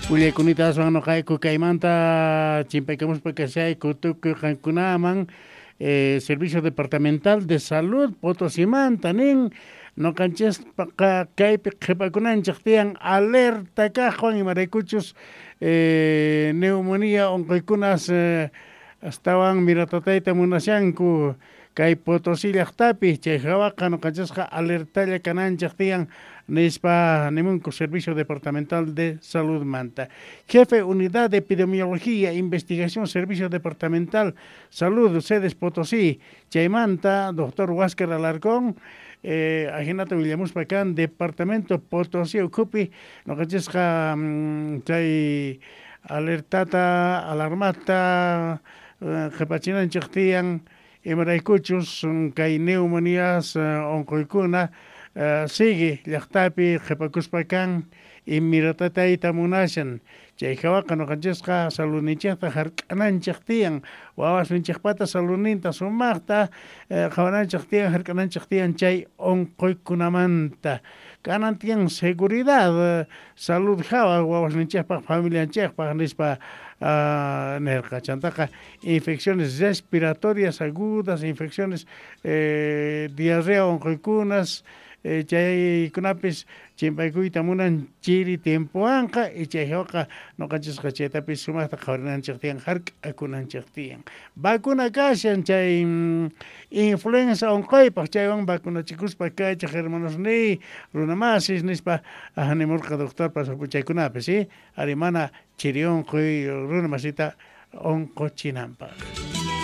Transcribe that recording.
Willaykunita aswan noqayku kaymanta chimpaykamuspa kashayku tukuy qankunaman Servicio Departamental de Salud Potosimanta nin noqanchispaqa kaypi qhipakunanchik tiyan alerta kaqwan imaraykuchus neumonía unquykunas astawan miratatayta munashanku kay Potosí llaqtapi chay hawaqa noqanchisqa alertalla kananchik tiyan nispa nimunku Servicio Departamental de Salud manta. Jefe Unidad de Epidemiología, Investigación, Servicio Departamental Salud, sedes Potosí, chaymanta, doctor Huáscar Alarcón, ajinata willamuspa kan Departamento Potosí ukhupi noqanchisqa chay alertata, alarmata qhipachinanchik tiyan imaraykuchus kay neumonías unquykuna sigue llaqtapi qhipakuspa kan y miratatayta munashan chay hawaqa noqanchisqa saludninchikta hark'ananchik tiyan wawasninchikpata saludninta sumaqta qhawananchik tiyan hark'ananchik tiyan chay unquykunamanta kanan tiyan seguridad salud hawa wawasninchikpaq familianchikpaq nispa nirqa chantaqa infecciones respiratorias agudas, infecciones diarrea unquykunas chaykunapis chimpaykuyta munan chiri tiempowanqa y chay hawaqa noqanchisqa chaytapis sumaqta qhawarinanchik tiyan hark'akunanchik tiyan vacuna kashan chay influenza unquypaq chaywan vacunachikuspa kaychik hermanos niy runamasis nispa nimurqa doctor chaykunapi si ari mana chiri unquy runa masita unquchinanpaq.